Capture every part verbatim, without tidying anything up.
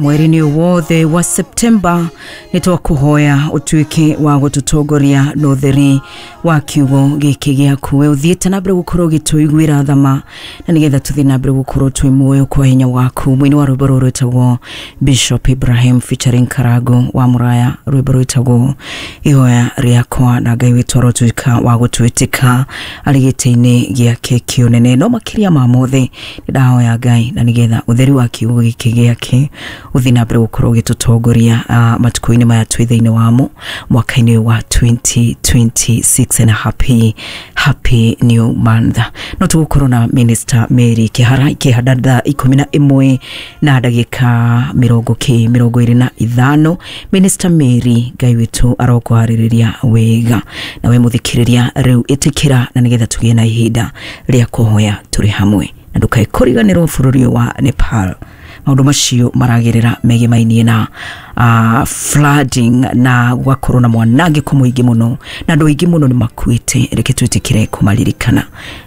Mweri-inĩ wothe wa Septemba nĩ twakũhoya ũtuĩke wa gũtũtongoria na ũtheri wa kiugo gĩkĩ gĩaku. We ũthiĩte na mbere gũkorwo ũgĩtũiguĩra thama na nĩgetha tũthiĩ na mbere gũkorwo twĩ muoyo kwa hinya waku. Mũini wa rwĩmbo rũrũ rwĩtagwo Bishop Ibrahim featuring Karago wa Muraya, rwĩmbo rwĩtagwo Ihoya Rĩakwa, na Ngai witũ arotuĩka wa gũtwĩtĩka arĩ gĩtĩ-inĩ gĩake kĩũnene. No makĩria ma mothe nĩ ndahoya Ngai na nĩgetha ũtheri wa kiugo gĩkĩ gĩake ũthiĩ na mbere gũkorwo ũgĩtũtongoria uh, matukũ-inĩ maya twĩ thĩinĩ wamo mwaka-inĩ wa twenty twenty-six, and a happy happy new month. No tũgũkorwo na Minister Mary Kihara ikĩhanda thaa ikũmi na ĩmwe na ndagĩka mĩrongo kĩ mĩrongo ĩrĩ na ithano. Minister Mary, Ngai witũ arokũharĩrĩria wega, na we mũthikĩrĩria rĩu ĩtĩkĩra na nĩgetha tũgĩe na ihinda rĩa kũhoya tũrĩ hamwe, na ndũkae kũriganĩrwo bũrũri ũyũ wa Nepal maũndũ macio maragerera megemainie na uh, flooding na gũgakorwo na mwanangĩko mũingĩ mũno na andũ aingĩ mũno nĩ makuĩte. Reke twĩtĩkĩre kũmaririkana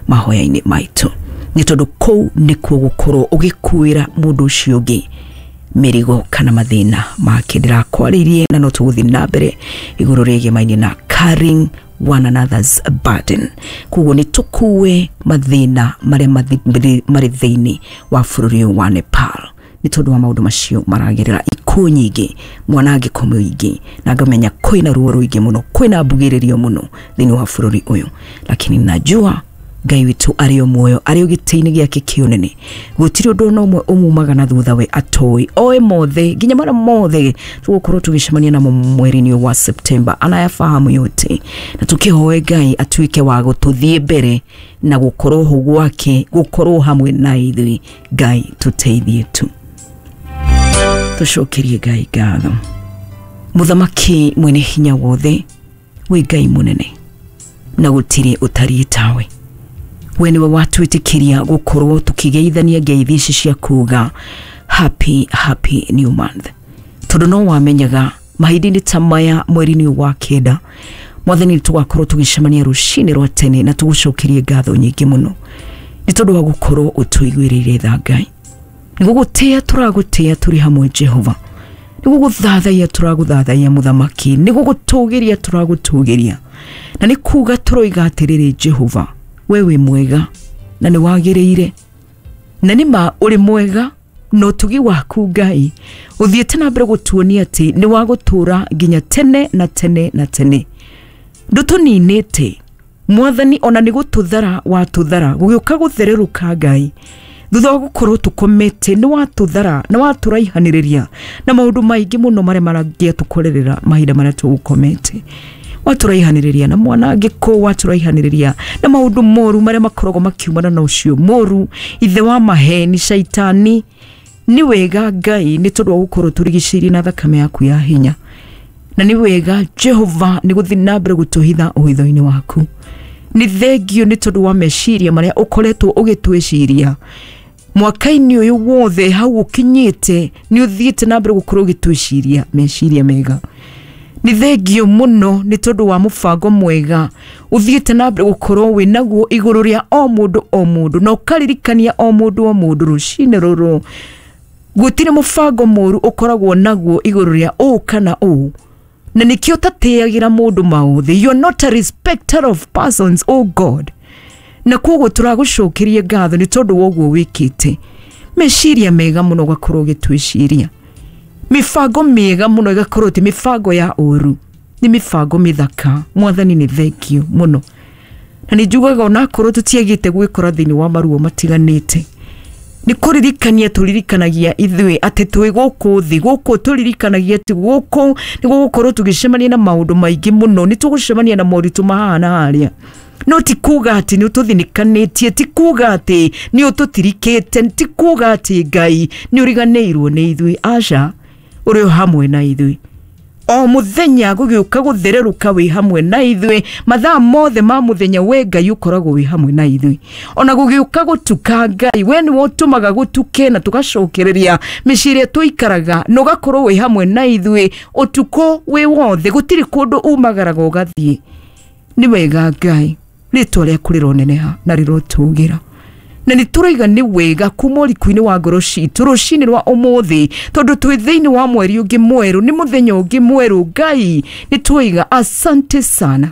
mahoya-inĩ maitũ, nĩ tondũ kũu nĩkuo gũkorwo ũgĩkuĩra mũndũ ũcio ũngĩ mĩrigo kana mathĩna make. Ndĩrakwarĩirie na no tũgũthiĩ na mbere igũrũ rĩgemainie na carrying one another's burden. Koguo nĩ tũkue mathĩna marĩa marĩ thĩinĩ wa bũrũri ũyũ wa Nepal nĩ tondũ wa maũndũ macio maragerera, ikuũ nyingĩ, mwanangĩko mũingĩ, na ngamenya kwĩna ruo rũingĩ mũno, kwĩna mbugĩrĩrio mũno thĩinĩ wa bũrũri ũyũ, lakini najua Ngai witũ arĩ o muoyo, arĩ o gĩtĩ-inĩ gĩake kĩũnene. Gũtirĩ ũndũ ona ũmwe ũmumaga na thutha we atoĩ, oĩ mothe, nginya marĩa mothe tũgũkorwo tũgĩcemania namo mweri-inĩ wa Septemba, anayafahamu yote. Na tũkĩhoe Ngai atuĩke wa gũtũthiĩ mbere na gũkorwo ho gwake, gũkorwo hamwe na ithuĩ. Ngai tũteithie tu, tũcokerie Ngai ngatho. Mũthamaki mwene hinya wothe, wĩ Ngai mũnene na gũtirĩ ũtariĩ tawe. We nĩwe watwĩtĩkĩria gũkorwo tũkĩgeithania ngeithi ici cia kuga happy happy new month, tondũ no wamenyaga mahinda-inĩ ta maya mweri-inĩ wa kenda, Mwathani, tũgakorwo tũgĩcemania rũcinĩ rwa tene na tũgũcokerie ngatho nyingĩ mũno nĩ tondũ wa gũkorwo ũtũiguĩrĩire tha. Ngai, nĩ gũgũtĩĩa tũragũtĩĩa tũrĩ hamwe Jehova, nĩ gũgũthathaiya tũragũthathaiya Mũthamaki, nĩ gũgũtũgĩria tũragũtũgĩria, na nĩ kuga tũroiga atĩrĩrĩ, Jehova, we wĩ mwega na nĩ wagĩrĩire, na nĩ ma ũrĩ mwega na ũtugi waku Ngai ũthiĩte na mbere gũtuonia atĩ nĩ wa gũtũũra nginya tene na tene na tene. Ndũtũninĩte Mwathani, ona nĩ gũtũthara watũthara gũgĩũka gũthererũka Ngai thutha wa gũkorwo tũkomete, nĩ watũthara na watũraihanĩrĩria na maũndũ maingĩ mũno marĩa marangĩatũkorerera mahinda marĩa tũgũkomete. Watũraihanĩrĩria na mwanangĩko, watũraihanĩrĩria na maũndũ moru marĩa makoragwo makiumana na ũcio mũru, ithe wa maheni, shaitani. Nĩ wega Ngai nĩ tondũ wa gũkorwo tũrigicĩirie na thakame yaku ya hinya, na nĩ wega Jehova nĩ gũthiĩ na mbere gũtũhitha ũhitho-inĩ waku. Nĩ thengio nĩ tondũ wa meciria marĩa ũkoretwo ũgĩtwĩciria mwaka-inĩ ũyũ wothe hau ũkinyĩte, nĩ ũthiĩte na mbere gũkorwo ũgĩtwĩciria meciria mega. Nĩ thengio mũno nĩ tondũ wa mũbango mwega ũthiĩte na mbere gũkorwo wĩ naguo igũrũ rĩa o mũndũ o mũndũ, na ũkaririkania o mũndũ o mũndũ rũcinĩ rũrũ gũtirĩ mũbango mũru ũkoragwo naguo igũrũ rĩa ũũ kana ũũ, na nĩkĩo ũtatĩagĩra mũndũ maũthĩ. You are not a respecter of persons, oh God, na koguo tũragũcokeria ngatho nĩ tondũ wa ũguo wĩkĩte. Meciria mega mũno ũgakorwo ũgĩtwĩciria, mĩbango mĩega mũno ĩgakorwo ti mĩbango ya ũru, nĩ mĩbango mĩthaka. Mwathani, nĩ thengio mũno, na nĩ njugaga onakorwo tũtiagĩte gwĩkora thĩinĩ wa maruo matiganĩte, nĩ kũririkania tũririkanagia ithuĩ atĩ twĩ gũkũ thĩ, gũkũ tũririkanagia atĩ gũkũ nĩ gũgũkorwo tũgĩcemania na maũndũ maingĩ mũno, nĩ tũgũcemania na moritũ mahana harĩa, no ti kuga atĩ nĩ ũtũthinĩkanĩtie, ti kuga atĩ nĩ ũtũtirikĩte, ti kuga atĩ Ngai nĩ ũriganĩirwo nĩ ithuĩ. Aca, ũrĩ o hamwe na ithuĩ o mũthenya gũgĩũka gũthererũka, wĩ hamwe na ithuĩ mathaa mothe ma mũthenya. We Ngai ũkoragwo wĩ hamwe na ithuĩ ona gũgĩũka gũtuka. Ngai, we nĩwe ũtũmaga gũtuke na tũgacokereria mĩciĩ ĩrĩa tũikaraga, na ũgakorwo wĩ hamwe na ithuĩ ũtukũ wĩ wothe, gũtirĩ kũndũ umagaraga ũgathiĩ. Nĩ wega Ngai, rĩtwa rĩaku rĩroneneha na rĩrotũgĩra. Na nĩ tũraiga nĩ wega kuma ũriku-inĩ wa ngoro citũ rũcinĩ rwa ũmũthĩ, tondũ twĩ thĩinĩ wa mweri ũngĩ mwerũ, nĩ mũthenya ũngĩ mwerũ. Ngai, nĩ twaiga asante sana,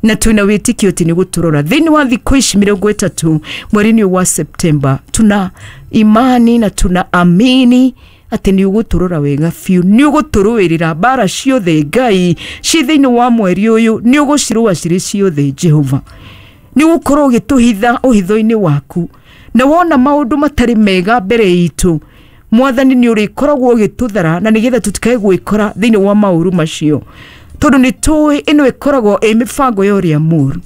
na twĩna wĩtĩkio atĩ nĩ gũtũrora thĩinĩ wa thikũ ici mĩrongo ĩtatũ mweri-inĩ ũyũ wa Septemba. Tuna imani na tuna amini atĩ nĩ ũgũtũrora wega biũ, nĩ ũgũtũrũĩrĩra mbara ciothe Ngai ci thĩinĩ wa mweri ũyũ, nĩ ũgũcirũa cirĩ ciothe. Jehova, nĩ ũgũkorwo ũgĩtũhitha ũhitho-inĩ waku, na wona maũndũ matarĩ mega mbere itũ, Mwathani, nĩ ũrĩkoragwo ũgĩtũthara na nĩgetha tũtikae gwĩkora thĩinĩ wa maũru macio, tondũ nĩ tũĩ ĩno ĩkoragwo ĩ mĩbango ya ũrĩa mũru.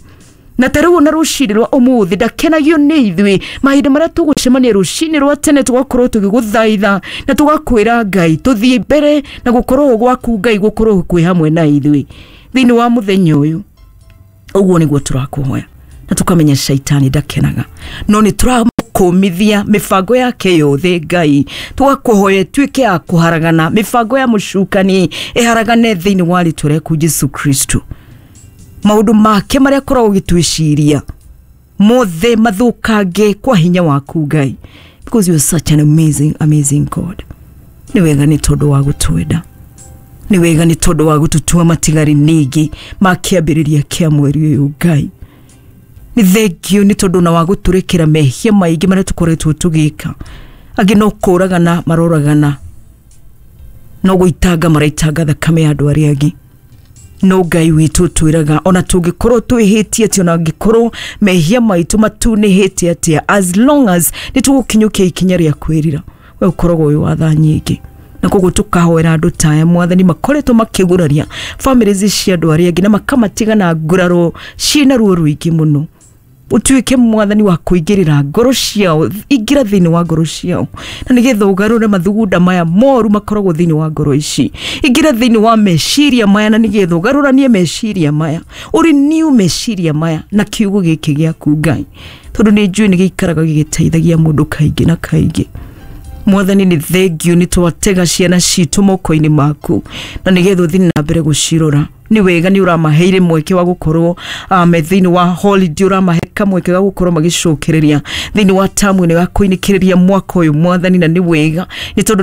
Na ta rĩu ona rũcinĩ rwa ũmũthĩ ndakenagio nĩ ithuĩ mahinda marĩa tũgũcemania rũcinĩ rwa tene, tũgakorwo tũgĩgũthaitha na tũgakwĩra Ngai tũthiĩ mbere na gũkorwo gwaku Ngai gũkorwo kwĩ hamwe na ithuĩ thĩinĩ wa mũthenya ũyũ. Ũguo nĩguo tũrakũhoya, na tũkamenya shaitani ndakenaga, no nĩ tũramũkũmithia mĩbango yake yothe. Ngai, tũgakũhoya ĩtuĩke ya kũharagana, mĩbango ya mũcukani ĩharagane thĩinĩ wa rĩtwa rĩaku Jesu Kristo. Maũndũ make marĩa akoragwo ũgĩtwĩciria mothe mathũkange kwa hinya waku Ngai, because you are such an amazing, amazing God. Nĩ wega nĩ tondũ wa gũtwenda, nĩ wega nĩ tondũ wa gũtũtua matigari ningĩ ma kĩambĩrĩria kĩa mweri ũyũ. Ngai, nĩ thengio nĩ tondũ na wa gũtũrekera mehia maingĩ marĩa tũkoretwo tũgĩka. Angĩ no kũragana maroragana, no gũitanga maraitanga thakame ya andũ arĩa angĩ, no Ngai witũ twĩraga ona tũngĩkorwo twĩhĩtie atĩa, ona angĩkorwo mehia maitũ matunĩhĩte atĩa, as long as nĩ tũgũkinyũkia ikinya rĩa kwĩrira, we ũkoragwo wĩ wa tha nyingĩ. Na koguo tũkahoera andũ ta aya, Mwathani, makoretwo makĩguraria families cia andũ arĩa angĩ na makamatiga na nguraro ciĩna ruo rũingĩ mũno. Ũtuĩke Mwathani wa kũingĩrĩra ngoro ciao, ingĩra thĩinĩ wa ngoro ciao na nĩgetha ũgarũre mathugunda maya moru makoragwo thĩinĩ wa ngoro ici. Ingĩra thĩinĩ wa meciria maya na nĩgetha ũgarũranie meciria maya, ũrenew meciria maya na kiugo gĩkĩ gĩaku Ngai, tondũ nĩ njũĩ nĩ gĩikaraga gĩgĩteithagia mũndũ kaingĩ na kaingĩ. Mwathani, nĩ thengio nĩ twatega ciana citũ moko-inĩ maku na nĩgetha ũthiĩ na mbere gũcirora. Nĩ wega nĩ ũramaheire mweke wa gũkorwo uh, me thĩinĩ wa holiday, ũramahe kamweke ga gũkorwo magĩcokereria thĩinĩ wa tamu ĩno ya kũinĩkĩrĩria mwaka ũyũ, Mwathani. Na nĩ wega nĩ tondũ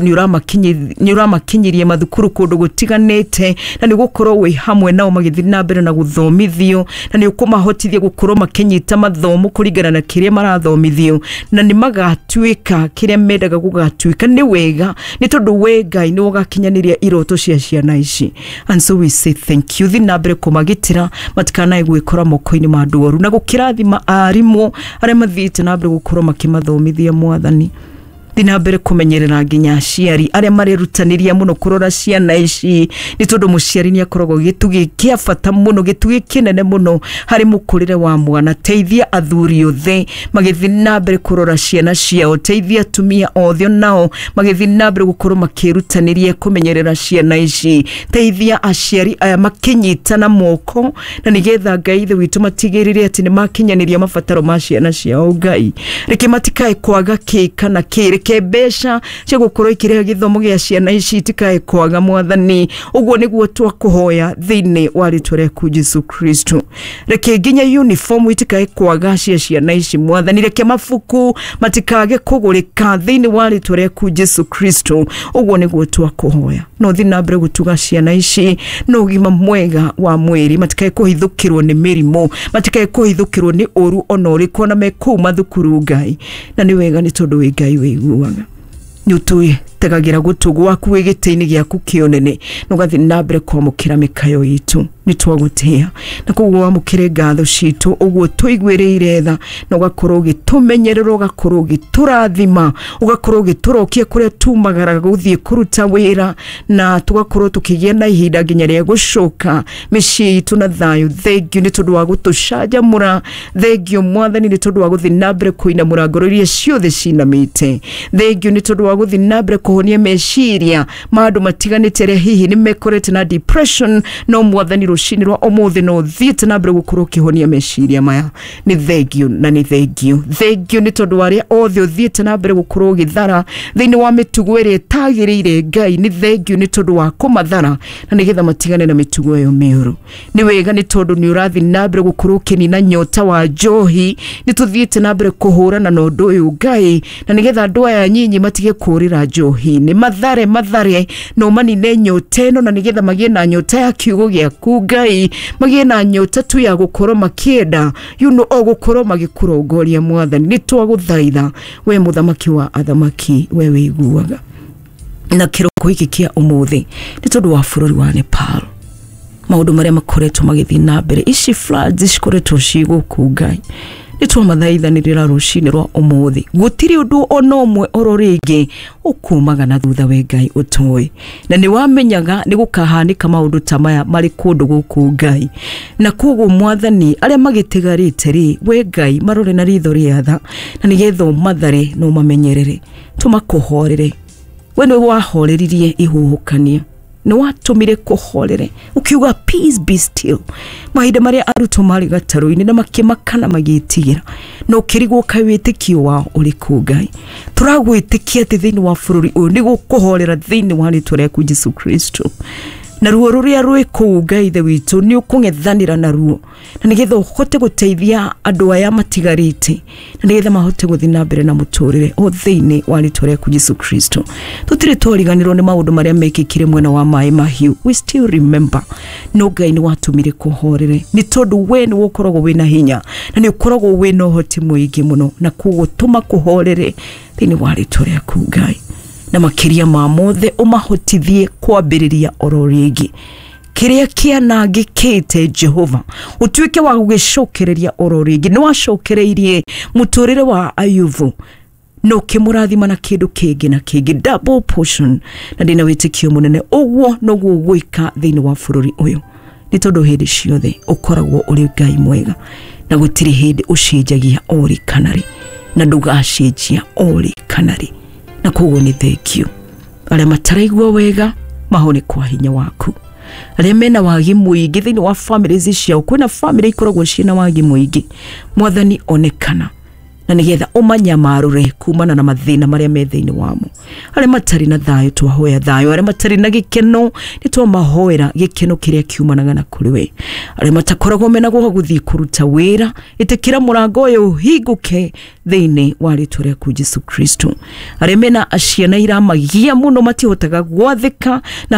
nĩ ũramakinyirie mathukuru kũndũ gũtiganĩte, na nĩ gũkorwo wĩ hamwe nao magĩthiĩ na mbere na gũthomithio, na nĩ ũkũmahotithia gũkorwo makĩnyita mathomo kũringana na kĩrĩa marathomithio, na nĩ magatuĩka kĩrĩa mendaga gũgatuĩka. Nĩ wega nĩ tondũ we Ngai nĩ ũgakinyanĩria iroto cia ciana ici, and so we say thank you. Thiĩ na mbere kũmagitĩra matikanae gwĩkora moko-inĩ ma andũ oru, na gũkĩrathima arimũ arĩa mathiĩte na mbere gũkorwo makĩmathomithia. Mwathani, thiĩ na mbere kũmenyerera nginya aciari arĩa marerutanĩria mũno kũrora ciana ici, nĩ tondũ mũciari nĩ akoragwo gĩtugĩ kĩa bata mũno, gĩtugĩ kĩnene mũno harĩ mũkũrĩre wa mwana. Teithia athuri othe magĩthiĩ na mbere kũrora ciana ciao, teithia atumia othe onao magĩthiĩ na mbere gũkorwo makĩrutanĩria kũmenyerera ciana ici. Teithia aciari aya makĩnyitana moko na nĩgetha Ngai ithe witũ matigĩrĩre atĩ nĩ makinyanĩria mabataro ma ciana ciao. Ngai, reke matikae kwaga kĩ kana kĩ, reke mbeca cia gũkorwo ikĩrĩha gĩthomo gĩa ciana ici itikae kwaga. Mwathani, ũguo nĩguo twakũhoya thĩinĩ wa rĩtwa rĩaku Jesu Kristo. Reke nginya uniform itikae kwaga cia ciana ici. Mwathani, reke mabuku matikage kũgũrĩka thĩinĩ wa rĩtwa rĩaku Jesu Kristo. Ũguo nĩguo twakũhoya. No thiĩ na mbere gũtuga ciana ici na ũgima mwega wa mwĩrĩ, matikae kũhithũkĩrwo nĩ mĩrimũ, matikae kũhithũkĩrwo nĩ ũru ona ũrĩkũ ona me kũu mathukuru. Ngai, na nĩ wega nĩ tondũ wĩ Ngai wĩiguaga, nĩ ũtwĩtegagĩra gũtũ gwaku wĩ gĩtĩ-inĩ gĩaku kĩonene na ũgathiĩ na mbere kwamũkĩra mĩkayo itũ. Nĩ twagũtĩĩa na koguo wamũkĩre ngatho citũ ũguo tũiguĩrĩire tha, na ũgakorwo ũgĩtũmenyerera, ũgakorwo ũgĩtũrathima, ũgakorwo ũgĩtũrokia kũrĩa tumagaraga gũthiĩ kũruta wĩra, na tũgakorwo tũkĩgĩa na ihinda nginya rĩa gũcoka mĩciĩ itũ na thayũ. Thengio nĩ tondũ wa gũtũcanjamũra. Thengio Mwathani nĩ tondũ wa gũthiĩ na mbere kũinamũra ngoro iria ciothe cinamĩte. Thengio nĩ tondũ wa gũthiĩ na mbere kũhonia meciria ma andũ matiganĩte arĩa hihi nĩ mekorete na depression, no Mwathani, rũcinĩ rwa ũmũthĩ no ũthiĩte na mbere gũkorwo ũkĩhonia meciria maya. Nĩ thengio na nĩ thengio, thengio nĩ tondũ wa arĩa othe ũthiĩte na mbere gũkorwo ũgĩthara thĩinĩ wa mĩtugo ĩrĩa ĩtagĩrĩire. Ngai, nĩ thengio nĩ tondũ wa kũmathara na nĩgetha matigane na mĩtugo ĩyo mĩũru. Nĩ wega nĩ tondũ nĩ ũrathiĩ na mbere gũkorwo ũkĩnina nyota wa njohi. Nĩ tũthiĩte na mbere kũhũrana na ũndũ ũyũ, Ngai, na nĩgetha andũ aya nyinyi matige kũrĩra njohi-inĩ, mathare mathare na ũmanine nyota ĩno, na nĩgetha magĩe na nyota ya kiugo gĩaku, Ngai, magĩe na nyota tu ya gũkorwo makĩenda you know, o gũkorwo magĩkũrongoria. Mwathani, nĩ twagũthaitha we mũthamaki wa athamaki, we wĩiguaga. Na kĩroko gĩkĩ kĩa ũmũthĩ nĩ tondũ wa bũrũri wa Nepal, maũndũ marĩa makoretwo magĩthiĩ na mbere, ici floods cikoretwo ci gũkũ, Ngai, nĩ twamathaithanĩrĩra rũcinĩ rwa ũmũthĩ. Gũtirĩ ũndũ ona ũmwe oro rĩngĩ ũkumaga na thutha, we Ngai ũtoĩ, na nĩ wamenyaga nĩ gũkahanĩka maũndũ ta maya marĩ kũndũ gũkũ, Ngai. Na koguo Mwathani, arĩa magĩtigarĩte rĩ, we Ngai, marore na ritho rĩa tha, na nĩgetha ũmathare na ũmamenyerere, tũmakũhorere. We nĩwe wahoreririe ihuhũkanio, nĩ watũmire kũhorere, ũkiuga "Peace, be still", mahinda marĩa arutwo marĩ gatarũ-inĩ na makĩmaka na magĩtigĩra, na ũkĩrigwo kaĩ wĩtĩkio wao ũrĩkũ. Ngai, tũragwĩtĩkia atĩ thĩinĩ wa bũrũri ũyũ nĩ gũkũhorera thĩinĩ wa rĩtwa rĩaku Jesu Kristo, na ruo rũrĩa rwĩ kũu, Ngai ithe witũ, nĩ ũkũng'ethanĩra naruo, na nĩgetha ũhote gũteithia andũ aya matigarĩte, na nĩgetha mahote gũthiĩ na mbere na mũtũrĩre o thĩinĩ wa rĩtwa rĩaku Jesu Kristo. Tũtirĩ twariganĩrwo nĩ maũndũ marĩa mekĩkire mwena wa maĩ mahiũ, we still remember, no Ngai nĩ watũmire kũhorere, nĩ tondũ we nĩ ũkoragwo wĩna hinya na nĩ ũkoragwo wĩna ũhoti mũingĩ mũno, na koguo tũma kũhorere thĩinĩ wa rĩtwa rĩaku, Ngai, na makĩria ma mothe ũmahotithie kwambĩrĩria oro rĩngĩ kĩrĩa kĩanangĩkĩte. Jehova, ũtuĩke wa gũgĩcokereria oro rĩngĩ. Nĩ wacokereirie mũtũrĩre wa Ayubu na ũkĩmũrathima na kĩndũ kĩngĩ na kĩngĩ, double portion, na ndĩna wĩtĩkio mũnene ũguo noguo ũgwĩka thĩinĩ wa bũrũri ũyũ, nĩ tondũ hĩndĩ ciothe ũkoragwo ũrĩ Ngai mwega na gũtirĩ hĩndĩ ũcenjagia orĩ kana rĩ, na ndũgacenjia orĩ kana rĩ. Na koguo nĩ thengio. Arĩa mataraigua wega mahone kwa hinya waku. Arĩa mena wagi mũingĩ thĩinĩ wa families ciao, kwĩna family ikoragwo ciĩna wagi mũingĩ, Mwathani, onekana na nĩgetha ũmanyamarũre kumana na mathĩna marĩa me thĩinĩ wamo. Arĩa matarĩ na thayũ, twahoya thayũ. Arĩa matarĩ na gĩkeno, nĩ twamahoera gĩkeno kĩrĩa kiumanaga na kũrĩ we. Arĩa matakoragwo mena gwa gũthiĩ kũruta wĩra, ĩtĩkĩra mũrango ũyũ ũhingũke thĩinĩ wa rĩtwa rĩaku Jesu Kristo. Arĩa mena ciana iramagia mũno, matihotaga gwathĩka na